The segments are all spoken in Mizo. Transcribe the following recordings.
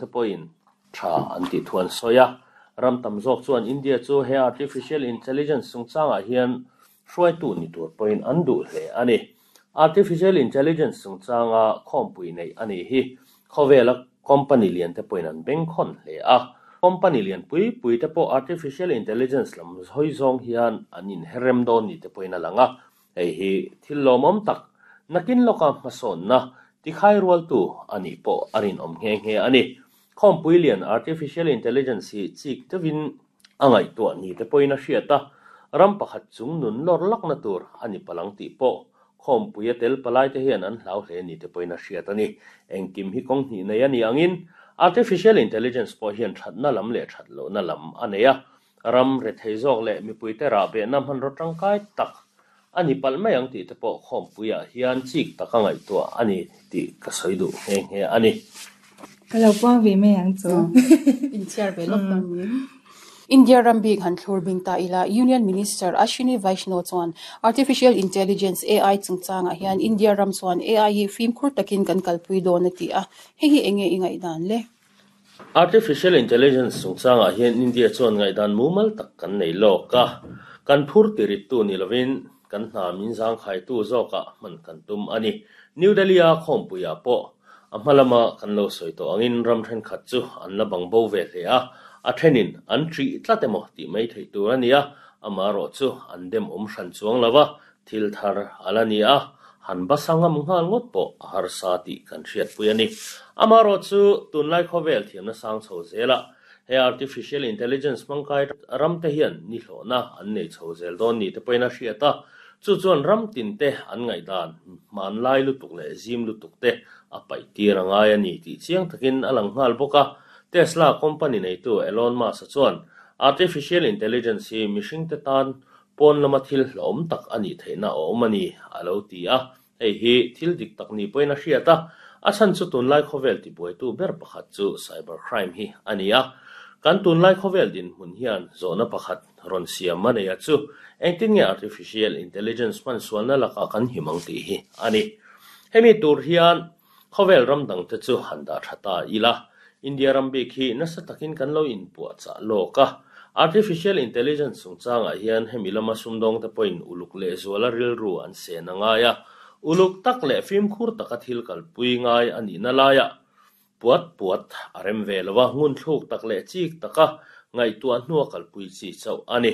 Te pawhin tha an tih thu an sawi a. Ram tam zawk chuan India chu he artificial intelligence chungchangah hian hruaitu ni tur pawhin an duh hle a ni. Artificial intelligence chungchanga khawmpui neih a nih hi khawvela company lian te pawhin an bengkhawn hle a. Company lian pui pui te pawh artificial intelligence lam hawi zawng hian an inherrem dawn ni te pawhin a lang a. Hei hi thil lawmawm tak, nakin lawka hmasawnna tikhai rualtu a nih pawh a rinawm nghe nghe a ni. Khawmpui lian Artificial Intelligence hi chik deuhin a ngaihtuah ni te pawhin a hriat a, ram pakhat chung nun lawr lakna tur a ni palang tih pawh khawmpui a tel palai te hian an hlau hle ni te pawhin a hriat a ni. Engkim hi kawng hnih nei a ni angin Artificial Intelligence pawh hian thatna lam leh that lohna lam a nei a, Ram rethei zawk leh mipuite rahbehna hmanraw tangkai tak a ni palh mai ang tih te pawh khawmpuiah hian chik taka ngaihtuah a ni tih ka sawi duh nghe nghe a ni. Ka lo puang ve mai ang chu. Inchhiar ve lawk ang ni. India ram bik han thlur bing ta ila, Union Minister Ashwini Vaishnaw chuan Artificial Intelligence, AI, chungchangah hian India ram chuan AI hi fimkhur takin kan kalpui dawn a ti a, hei hi enge i ngaihdan le? Artificial Intelligence chungchangah hian India chuan ngaihdan mumal tak kan nei lawk a, kan phur tirittu ni lovin kan hna min zangkhaitu zawkah hman kan tum a ni. New Delhi-a khawmpuiah pawh a hma lama kan lo sawi tawh angin ram thenkhat chu an la bang bo ve hle a, a thenin an ṭih tlat emaw tih mai theih tur a ni a, amaherawh chu an dem awm hran chuang lo va, Thil thar a la ni a, han basa ngam nghal ngawt pawh a harsa tih kan hriatpui a ni. Amaherawh chu tunlai khawvel thiamna sang chho zelah he artificial intelligence hmangkai ramte hian nihlawhna an nei chho zel dawn ni te pawhin a hriat a, chu chuan ram tinte an ngaihdan hmanlai lutuk leh zim lutuk te a paih tir a ngai a ni tih chiang takin a lang nghal bawk a. Tesla company neitu Elon Musk-a chuan artificial intelligence hi mihringte tan Pawn lama thil hlauhawm tak a nih theihna a awm a ni, a lo ti a. Hei hi thil dik tak ni pawhin a hriat a, a chhan chu tunlai khawvel tibuaitu ber pakhat chu cyber crime hi a ni a. Kan tunlai khawvel dinhmun hian zawhna pakhat rawn siam a nei a chu, engtin nge artificial intelligence hman sualna lakah kan him ang tih hi a ni. Hemi tur hian Khawvel ram dangte chu han dah tha ta ila, India ram bik hi nasa takin kan lo inpuahchah lawk a. Artificial Intelligence chungchangah hian hemi lama sumdawngte pawhin uluk lehzuala rilru an sen a ngai a. Uluk tak leh fimkhur taka thil kalpui ngai a nihna laiah puat puat a rem ve lo a, ngunthluk tak leh chik taka ngaihtuah hnua kalpui chi chauh a ni.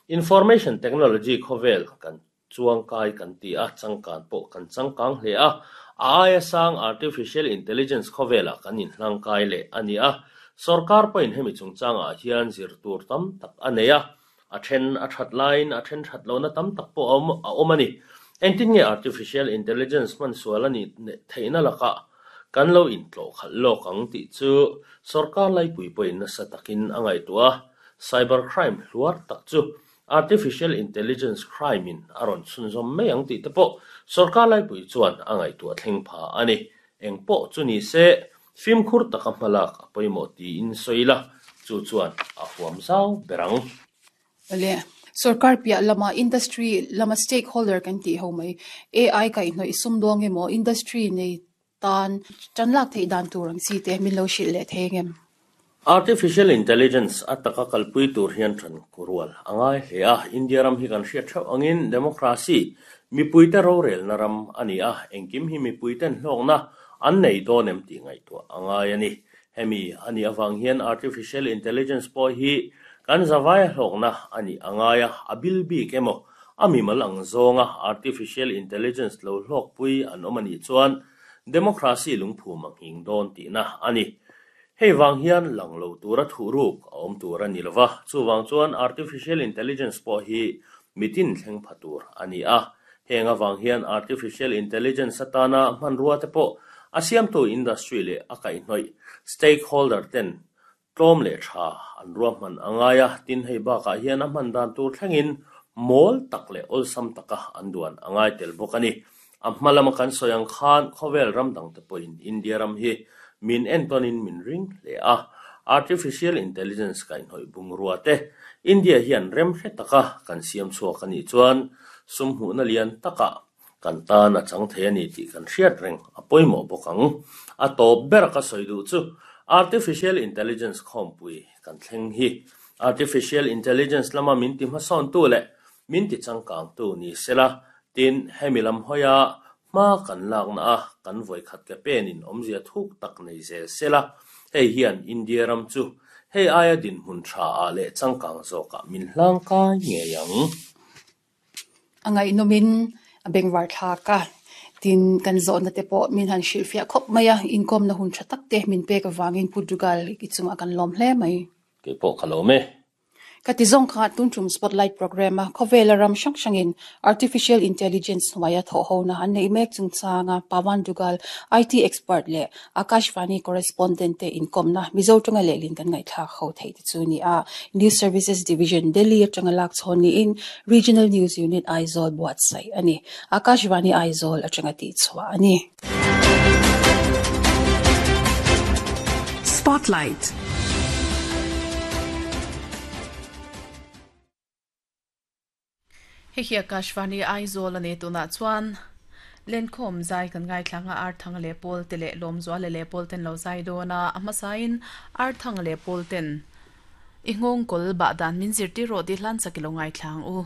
Information Technology khawvel kan Chuangkai kan ti a, changkan pawh kan changkang hle a. A aia sang Artificial Intelligence khawvelah kan inhlangkai leh a ni a. Sorkar pawhin hemi chungchangah hian zir tur tam tak a nei a. A then a that laiin a then that lohna tam tak pawh a awm a awm a ni. Engtin nge Artificial Intelligence hman sual a nih theihna lakah kan lo intlawh khalh lawk ang tih chu sorkar laipui pawhin nasa takin a ngaihtuah a. Cyber crime hluar tak chu Artificial Intelligence crime in a rawn chhunzawm mai ang tih te pawh sorkar laipui chuan a ngaihtuah thleng pha a ni. Eng pawh chu ni se, fimkhur taka hmalak a pawimawh tiin sawi la, chu chuan a huam zau ber ang. Awle, sorkar piah lama industry lama stakeholder kan tih ho mai, AI kaihhnawih sumdawng emaw industry nei tan tan lak theih dan tur ang chi te min lo hrilh leh thei ang em? Artificial Intelligence a taka kalpui tur hian tan rual a ngai hle a. India ram hi kan hriat theuh angin democracy, mipuite rorelna ram a ni a, engkim hi mipuiten hlawkna an nei dawn em tih ngaihtuah a ngai a ni. Hemi a nih avang hian Artificial Intelligence pawh hi kan zavaia hlawkna a nih a ngai a, a bil bik emaw A mimal ang zawnga artificial intelligence lo hlawkpui an awm a nih chuan democracy lungphum a nghing dawn tihna a ni. Hei vang hian lang lo tura thuhruk a awm tur a ni lo va, chuvang chuan artificial intelligence pawh hi mitin thleng pha tur a ni a. Heng avang hian artificial intelligence atana hmanrua te pawh a siamtu industry leh a kaihhnawih stakeholder ten Tlawm leh tha an ruahman a ngai a, tin hei bakah hian a hman dan tur thlengin mawl tak leh awlsam taka an duan a ngai tel bawk a ni. A hma lama kan sawi ang khan khawvel ram dangte pawhin India ram hi min entawnin min ring hle a, Artificial Intelligence kaihhnawih bungrua te India hian rem hre taka kan siam chhuak a nih chuan sum hmuhna lian takah Kan tan a chang thei a ni tih kan hriat reng a pawimawh bawk ang. A tawp ber ka sawi duh chu Artificial Intelligence khawmpui kan thleng hi Artificial Intelligence lama min ti hmasawntu leh min ti changkangtu ni sela, tin, hemi lam hawia hma kan lakna a kan vawikhat ke penin awmzia thuk tak nei zel sela, hei hian India ram chu hei aia dinhmun tha ah leh changkang zawkah min hlangkai ngei ang. A ngaihnawmin a bengvar thlak a, tin kan zawhna te pawh min han hrilhfiah khawp mai a, inkawmna hun tha tak te min pek avangin Pu Dugal i chungah kan lawm hle mai. Kei pawh ka lawm e. Ka ti zawng kha tun tum Spotlight Programme a khawvela ram hrang hrangin Artificial Intelligence hnuaia thawhhona an neih mek chungchanga Pawan Dugal, IT expert leh Akashvani correspondent te inkawmna Mizo tanga lehlin kan ngaihthlak ho theih te chu ni a. News Services Division, Delhi atanga lak chhawn niin Regional News Unit, Aizawl buatsaih a ni. Akashvani Aizawl atanga tihchhuah a ni. Spotlight. Hei hi Akashvani Aizawl a ni tunah chuan Lenkhawm zai kan ngaithlang a Arthanga leh Pawl te leh Lawmzuala leh Pawl ten lo zai dawn a, a hmasain Arthanga leh Pawl ten i nghawngkawl bah dan min zirtir rawh tih hlan sak i lo ngaithlang u.